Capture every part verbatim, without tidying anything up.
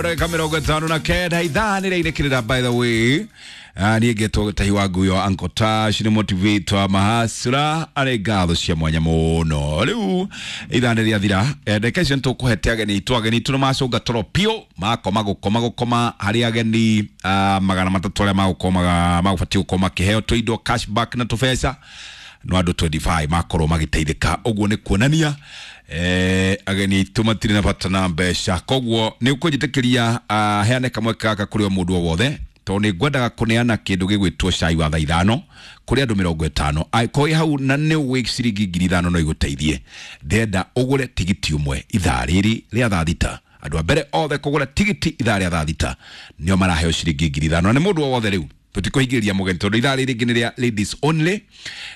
Ndagĩka mĩrongo ĩtano na kenda ithaa nĩ rĩinĩkĩrĩra. By the way, niĩ ngetwo Gĩtahi wa Nguyo, Uncle Tash nĩ motivator mahasura arĩ ngatho cia mwanya mũno. Rĩu ithaa nĩ rĩathira, ndagĩka icio nĩtũkũhete ageni itũ. Ageni itũ nĩ macũnga toro piũ, makoma gũkoma gũkoma harĩ ageni ah, magana matatũ arĩa magũkomaga magũbatiĩ gũkorwo makĩheo tũindo, cashback na tũbeca, no andũ mĩrongo ĩrĩ na ithano makorwo magĩteithĩka. Ũguo nĩ kuonania eh, ageni aitũ matirĩ na bata na mbeca. Koguo nĩ ũkũnjĩtĩkĩria uh, heane kamweke gaka kũrĩ o mũndũ o wothe, tondũ nĩ ngwendaga kũneana kĩndũ gĩgwĩtwo cai wa thaa ithano kũrĩ andũ mĩrongo ĩtano. Angĩkorwo wĩ hau na nĩ ũĩ ciringi ngiri ithano no igũteithie, ndĩrenda ũgũre tigiti ũmwe ithaa rĩrĩ rĩa thaa thita. Andũ a mbere othe kũgũra tigiti ithaa rĩa thaa thita nĩo maraheo ciringi ngiri ithano, na nĩ mũndũ o wothe. Rĩu tũtikũhingĩrĩria mũgeni tondũ ithaa rĩrĩ rĩngĩ nĩ rĩa ladies only.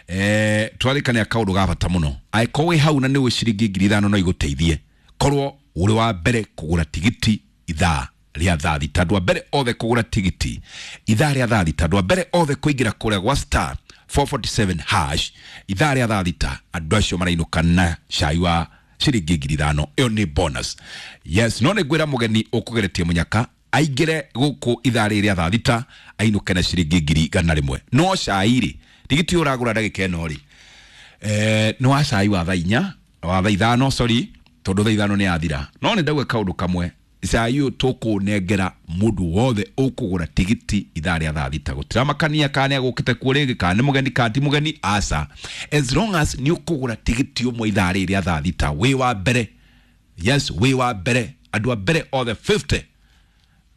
eh, twarĩkania kaũndũ ga bata mũno. Angĩkorwo wĩ hau na nĩ ũĩ ciringi ngiri ithano no igũteithie, korwo ũrĩ wa mbere kũgũra tigiti ithaa rĩa thaa thita. Andũ a mbere othe kũgũra tigiti ithaa rĩa thaa thita, andũ a mbere othe kũingĩra kũrĩa gwa star four forty-seven hash ithaa rĩa thaa thita, andũ acio marainũka na cai wa ciringi ngiri ithano. Ĩyo nĩ bonus, yes. No nĩ ngwĩra mũgeni ũkũgeretie mũnyaka aingĩre gũkũ ithaa rĩrĩ rĩa thaa thita ainũke na ciringi ngiri igana rĩmwe. No cai rĩ, tigiti ũyũ ũragũra ndagĩka ĩno rĩ, eh, nĩ wa cai wa thaa inya, wa thaa ithano, sorry, tondũ thaa ithano nĩ yathira. No nĩ ndauga kaũndũ kamwe: cai ũyũ tũkũnengera mũndũ wothe ũkũgũra tigiti ithaa rĩa thaa thita. Gũtiramakania kana nĩ agũkĩte kuo rĩngĩ, kana nĩ mũgeni, kana ti mũgeni, aca. As long as nĩ ũkũgũra tigiti ũmwe ithaa rĩrĩ rĩa thaa thita wĩ wa mbere, yes, wĩ wa mbere, andũ a mbere othe mĩrongo ĩtano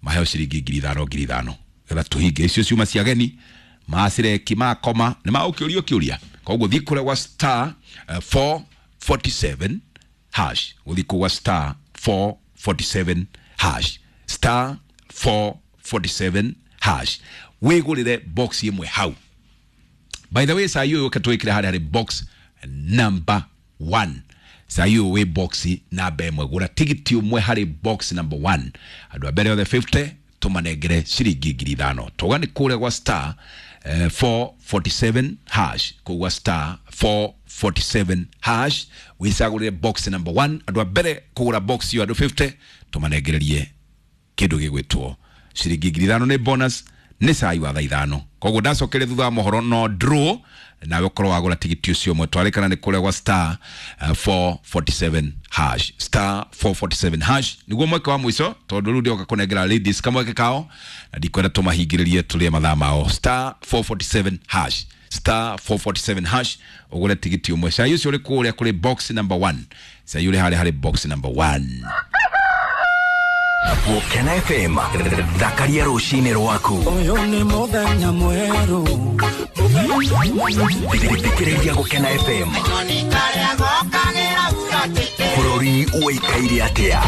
maheo ciringi ngiri ithano ngiri ithano, getha tũhinge icio ciuma cia ageni macireki makoma nĩ magũkĩũria kĩũria. Koguo thiĩ kũrĩa gwa star uh, four forty-seven hash, gũthiĩ kũu gwa star four forty-seven hash, star four forty-seven hash, wĩgũrĩre box ĩmwe hau. By the way, cai ũyũ ũke twĩkĩre harĩa harĩ box number one. Cai ũyũ wĩ box namba ĩmwe. Gũra tigiti ũmwe harĩ box number one. Andũ a mbere othe mĩrongo ĩtano tũmanengere ciringi ngiri ithano. Tauga nĩ kũrĩa gwa star eh, four forty-seven hash, kũu gwa star four forty-seven hash, wĩcagũrĩre box number one. Andũ a mbere kũgũra box ĩyo, andũ mĩrongo ĩtano, tũmanengererie kĩndũ gĩgwĩtwo ciringi ngiri ithano. Nĩ bonus, nĩ cai wa thaa ithano. Koguo ndacokeria thutha wa mohoro no draw, nawe ũkorwo wagũra tigiti ũcio ũmwe. Twarĩkana nĩ kũrĩa gwa star uh, four forty-seven hash, star four forty-seven hash, nĩguo mweke wa mũico, tondũ rĩu ndĩoka kũnengera ladies kamweke kao na ndikwenda tũmahingĩrĩrie tũrĩe mathaa mao. Star four forty-seven hash, star four forty-seven hash, ũgũre tigiti ũmwe. Cai ũcio ũrĩ kũrĩa kũrĩ box number one. Cai ũrĩ harĩa harĩ box number one. Gũkena F M, thakaria rũcinĩ rwaku. Ũyũ nĩ mũthenya mwerũ. Thikĩrĩria Gũkena F M. Bũrũri ũikaire atĩa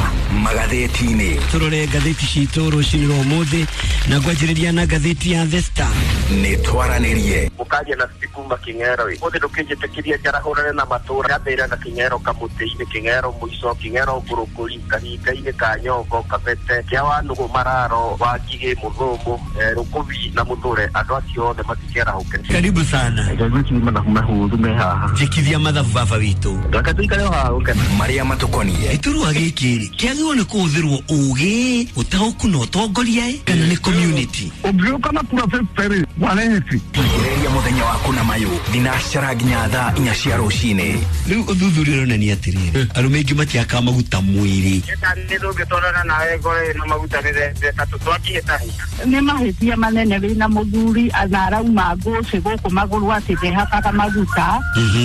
magathĩti-inĩ? Tũrore ngathĩti citũ rũcinĩ rwa ũmũthĩ na ngwanjĩrĩria na ngathĩti ya The Star. Nĩ twaranĩrie. Mũkaria na Steve kuma Kĩng'ero ĩ ũthĩ ndũkĩnjĩtĩkĩria njarahũrane na matũra gathĩra na Kĩng'ero, kamũtĩ-inĩ Kĩng'ero, mũico Kĩng'ero, ngũrũkũri kahinga-inĩ ka nyongo, kabete kĩa wanũgũ, mararo wa ngigĩ, mũthũmũ, eh, rũkũbi na mũthũre. Andũ acio othe matikĩarahũke. Karibu sana. Mathabu mahũthũ me haha. Njĩkithia mathabu baba witũ. Reke tũikare o haha gũkena. Marĩa matũkoniĩ. Gĩturwa gĩkĩ rĩ kĩagĩrĩirwo nĩ kũhũthĩrwo ũgĩ, ũtaũku na ũtongoria ĩ, kana nĩ community? Ũngĩũka na kura fifty rĩ, wareheti. Tigĩrĩria mũthenya waku na mayũ thinacara nginya thaa inya cia rũcinĩ. Rĩu ũthuthuria ũronania atĩrĩrĩ, arũme aingĩ matiakaga maguta mwĩrĩ. Nĩ tũngĩtwarana nawe ngore ĩno maguta nĩ tũtwakĩhĩtahĩta. Nĩ mahĩtia manene wĩna mũthuri na arauma ngũcĩ gũkũ magũrũ atĩ ndehakaga maguta,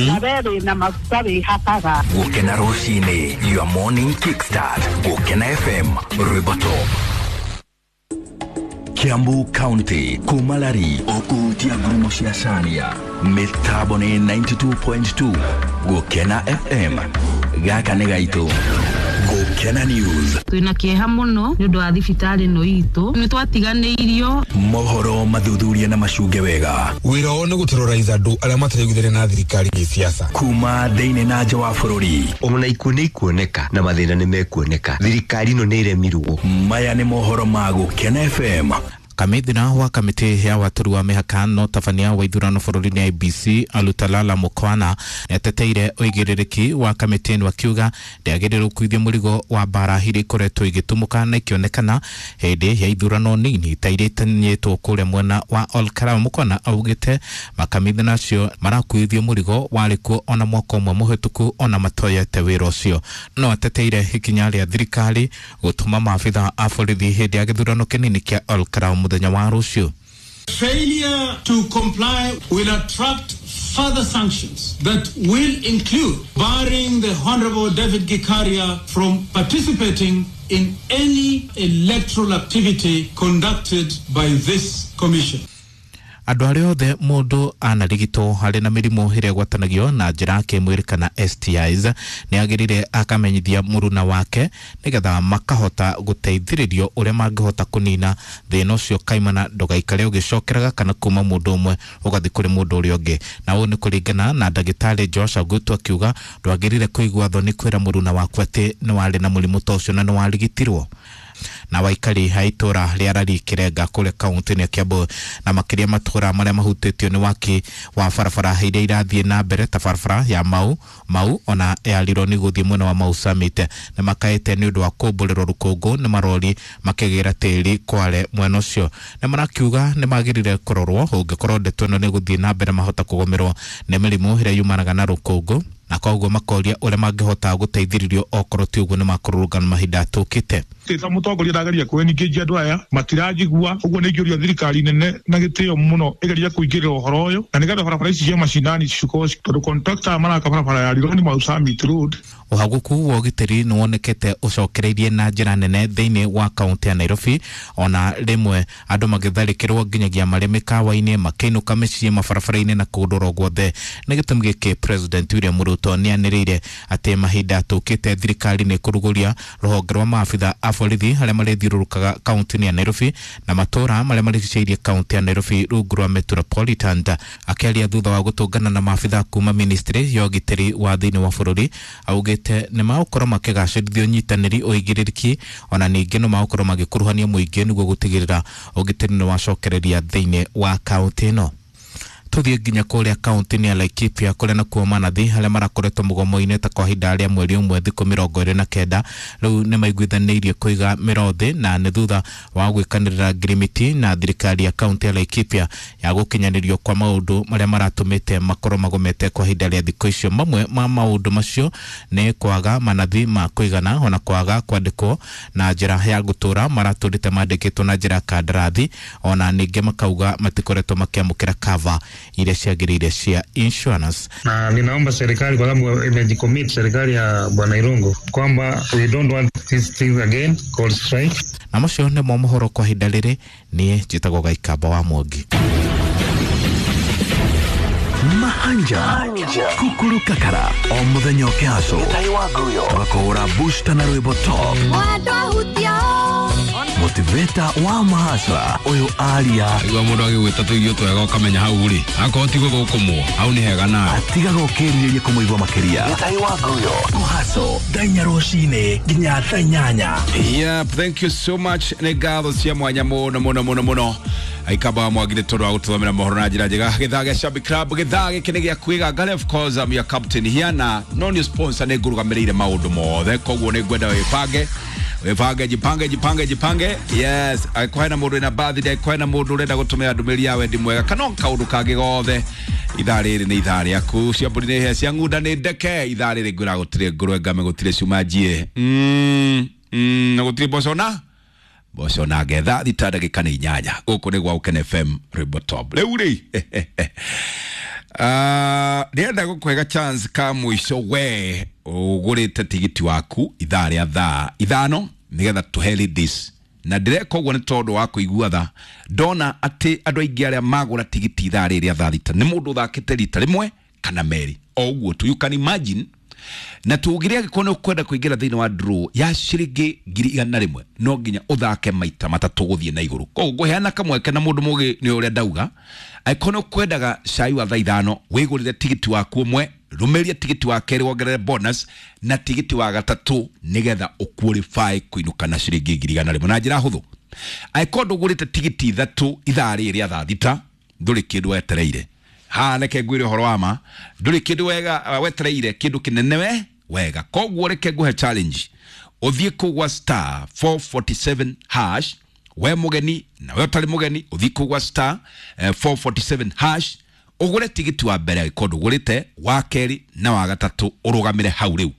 na we wĩna maguta wĩhakaga. Gũkena rũcinĩ, your morning kickstart. Gũkena F M, rwĩmbo top. Kiambu County, Kumalari, ũkũhutia ngurumo cia Caria. Mĩtambo nĩ ninety-two point two Gũkena F M. Gaka nĩ gaitũ. Gũkena News. Twĩna kĩeha mũno nĩ ũndũ wa thibitarĩ ĩno itũ, nĩ twatiganĩirio. Mohoro mathuthurie na macunge wega. Wĩra wao nĩ gũterrorize andũ arĩa mataraiguithania na thirikari gĩsiasa. Kuma thĩinĩ na nja wa bũrũri. Ona ikuũ nĩ ikuoneka na mathĩna nĩ mekuoneka. Thirikari ĩno nĩ ĩremirwo. Maya nĩ mohoro ma Gũkena F M. Kamithina wa kamĩtĩ ya watũri wa mĩhaka no tabania wa ithurano bũrũri-inĩ I B C Alutalala Mukwana nĩateteire ũigĩrĩrĩki wa kamĩtĩ ĩno akiuga ndĩagĩrĩirwo gũkuithia mũrigo wa mbara iria ikoretwo igĩtumũka na ikĩonekana hĩndĩ ya ithurano nini ta iria itanyĩtwo kũrĩa mwena wa Olkalau. Mukwana augĩte makamithina acio marakuithio mũrigo warĩ kuo ona mwaka ũmwe mũhĩtũku ona matoyete wĩra ũcio. No ateteire ikinya rĩa thirikari gũtũma maabitha a borithi hĩndĩ ya gĩthurano kĩnini kĩa Olkalau mũthenya wa rũciũ. Failure to comply will attract further sanctions that will include barring the Honorable David Gikaria from participating in any electoral activity conducted by this commission. Andũ arĩa othe mũndũ anarigitwo harĩ na mĩrimũ ĩrĩa ĩgwatanagio na njĩra ya kĩmwĩrĩ kana S T Is nĩagĩrĩire akamenyithia mũruna wake nĩgetha makahota gũteithĩrĩrio ũrĩa mangĩhota kũnina thĩna ũcio kaimana ndũgaikare ũgĩcokeraga kana kuma mũndũ ũmwe ũgathiĩ kũrĩ mũndũ ũrĩa ũngĩ. Na ũũ nĩ kũringana na ndagĩtarĩ Josh Agutu akiuga ndwagĩrĩire kũigua thoni kwĩra mũruna waku atĩ nĩ warĩ na mũrimũ ta ũcio na nĩ warigitirwo. Na waikari a itũra rĩa Rari Kirenga kũrĩa kaunti-inĩ ya Kiambu na makĩria matũra marĩa mahutĩtio nĩ waki wa barabara iria irathiĩ na mbere ta barabara ya Mau Mau ona ya Rironi gũthiĩ mwena wa Mau Summit nĩ makaĩte nĩ ũndũ wa kũmbũrĩrwo rũkũngũ nĩ marori makĩgĩra tĩri kware mwena ũcio. Nĩ marakiuga nĩ magĩrĩire kũrorwo ũngĩkorwo ndeto ĩno nĩ gũthiĩ na mbere mahota kũgũmĩrwo nĩ mĩrimũ ĩrĩa yumanaga na rũkũngũ na koguo makoria ũrĩa mangĩhota gũteithĩrĩrio okorwo ti ũguo nĩ makũrũrũngana mahinda tũkĩte. Ta mũtongoria ndageria kwĩningĩria andũ aya matirajigua ũguo nĩ ingĩũria thirikari nene na gĩtĩo mũno ĩgeria kũingĩrĩra ũhoro ũyũ na nĩgetha barabara ici cia macinani cikorwo tondũ contractor maraka barabara ya Rironi Mau Summit Road. Ũhagũku wa ũgitĩri nĩ wonekete ũcokereirie na njĩra nene thĩinĩ wa kaunti ya Nairobi ona rĩmwe andũ magĩtharĩkĩrwo nginyagia marĩ mĩkawa-inĩ makĩinũka mĩciĩ mabarabara-inĩ na kũndũ oro guothe. Nĩ gĩtũmi gĩkĩ President William Ruto nĩanĩrĩire atĩ mahinda tũkĩte thirikari nĩ kũrugũria rũhonge rwa maabitha a borithi arĩa marĩthiũrũrũkaga kaunti-inĩ ya Nairobi na matũra marĩa marigicĩirie kaunti ya Nairobi rungu rwa Metropolitan. Akĩaria thutha wa gũtũngana na maabitha kuma ministry ya ũgitĩri wa thĩinĩ wa bũrũri augĩte nĩ magũkorwo makĩgacĩrithia ũnyitanĩri ũigĩrĩrĩki ona ningĩ nĩ magũkorwo magĩkuruhania mũingĩ nĩguo gũtigĩrĩra ũgitĩri nĩ wacokereria thĩinĩ wa kaunti ĩno. Tuthiĩ nginya kũrĩa kaunti-inĩ ya Laikipia kũrĩa nakuo manathi arĩa marakoretwo mũgomo-inĩ ta kwa ihinda rĩa mweri ũmwe thikũ mĩrongo ĩrĩ na kenda rĩu nĩ maiguithanĩirie kũiga mĩro thĩ na nĩ thutha wa gwĩkanĩrĩra ngirimiti na thirikari ya kaunti ya Laikipia ya gũkinyanĩrio kwa maũndũ marĩa maratũmĩte makorwo magomete kwa ihinda rĩa thikũ icio. Mamwe ma maũndũ macio nĩ kwaga manathi ma kũigana ona kwaga kwandĩkwo na njĩra ya gũtũra maratũrĩte mandĩkĩtwo na njĩra ya kandarathi ona ningĩ makauga matikoretwo makĩamũkĩra cover iria ciagĩrĩire cia insurance. Na ninaomba serikali kwa sababu imejicommit serikali ya Bwana Irungu kwamba we don't want this thing again called strike. Na macio nĩmo mohoro kwa ihinda rĩrĩ. Niĩ njĩtagwo Gaikamba wa Mwangi. Mahanja kukuru kakara o muthenya ũkĩhaco tũgakũhũra booster na rwĩmbo top motivator wa mahasra ũyũ aria igua mũndũ agĩgwĩta tũirio twega ũkamenya hau rĩ akorwo ti gũthũkũmwo hau nĩ hega nawe atigaga ũkĩrirĩria kũmũigua makĩria kũhaco thaa inya rũcinĩ nginya thaa inyanya. Yep, thank you so much. Nĩ ngatho cia mwanya mũno mũno mũno mũno Aikamba Mwangi nĩ tondũ wa gũtũthomera mohoro na njĩra njega. Gĩthaa gĩa Shabby Club gĩthaa gĩkĩ nĩ gĩa kwĩgangara. Of course I'm your captain here na no new sponsor nĩ ngũrũgamĩrĩire maũndũ mothe koguo nĩ ngwenda wĩbange wĩbange jipange jipange jipange. Yes, angĩkorwo hena mũndũ wĩna birthday, angĩkorwo hena mũndũ ũrenda gũtũmĩra ndũmĩrĩri ya wendi mwega kana kaũndũ kangĩ gothe, ithaa rĩrĩ nĩ ithaa rĩaku. Cia mbũri nĩ hĩa, cia ng'unda nĩ ndeke. Ithaa rĩrĩ ngwĩra gũtirĩ ngũrwe ngame, gũtirĩ cuma njiĩ, mm, mm, na gũtirĩ mboco na mboco na ngetha. Thita ndagĩka nĩ inyanya. Gũkũ nĩ gwa Ũkene F M Rwĩmbo Top. Rĩu rĩ Uh, ndĩrenda gũkũhe chance ka mũico we ũgũrĩte tigiti waku ithaa rĩa thaa ithano nĩgetha tũhe ladies na ndĩreka ũguo nĩ tondũ wa kũigua tha ndona atĩ andũ aingĩ arĩa magũra tigiti ithaa rĩrĩ rĩa thaa thita nĩ mũndũ ũthakĩte rita rĩmwe kana merĩ o ũguo tu. You can imagine. Na tugire angĩkorwo nĩ ũkwenda kũingĩra thĩinĩ wa draw ya ciringi ngiri igana rĩmwe no nginya ũthake maita matatũ gũthiĩ na igũrũ. Koguo ngũheana kamweke na mũndũ mũgĩ nĩ ũrĩa ndauga angĩkorwo nĩ ũkwendaga cai wa thaa ithano wĩgũrĩre tigiti waku ũmwe, rũmĩria tigiti wa kerĩ wongerere bonus na tigiti wa gatatũ nĩgetha ũqualify kũinũka na ciringi ngiri igana rĩmwe na njĩra hũthũ. Angĩkorwo ndũgũrĩte tigiti ithatũ ithaa rĩrĩ rĩa thaa thita, ndũrĩ kĩndũ wetereire. Haha reke ngwĩre ũhoro wa ma, ndũrĩ kĩndũ wega wetereire, kĩndũ kĩnene we wega. Koguo reke ngũhe challenge, ũthiĩ kũu gwa star four forty-seven hash, we mũgeni na we ũtarĩ mũgeni, ũthiĩ kũu gwa star eh, four forty-seven hash, ũgũre tigiti wa mbere angĩkorwo ndũgũrĩte, wa kerĩ na wa gatatũ, ũrũgamĩre hau rĩu,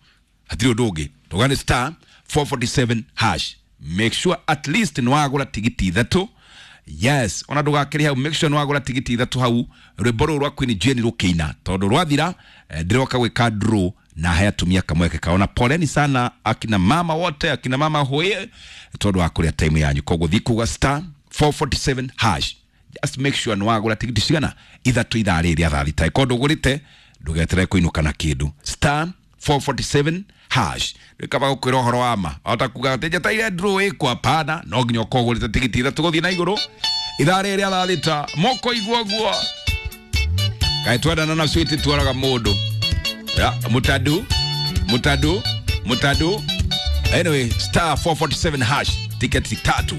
hatirĩ ũndũ ũngĩ. Ndũgane star four forty-seven hash, make sure at least nĩ wagũra tigiti ithatũ. Yes, ona ndũgakĩrĩ hau, make sure nĩ wagũra tigiti ithatũ hau, rwĩmbo rũrũ rwa Queen Jane rũkĩina, tondũ rwathira eh, ndĩroka gwĩka draw na he atumia kamweke kao. Na poleni sana akina mama wote, akina mama hoye, tondũ wa kũrĩa time yanyu. Koguo thiĩ kuga star four forty-seven hash, just make sure nĩ wagũra tigiti cigana ithatũ ithaa rĩrĩ rĩa thaa thita. Angĩkorwo ndũgũrĩte, ndũgeterere kũinũka na kĩndũ. Star four forty-seven hash. Rĩkaba gũkwĩra ũhoro wa ma, ota kuga atĩ njetereire draw ĩkwo, hapana, no nginya ũkorwo ũgũrĩte tigiti ithatũ gũthiĩ na igũrũ ithaa rĩrĩ rĩa thaa thita. Moko igua guo kaĩ twendana na sweet tuoraga mũndũ ya mutadu mutadu mutadu. Anyway, star four forty-seven hash, tiketi tatu.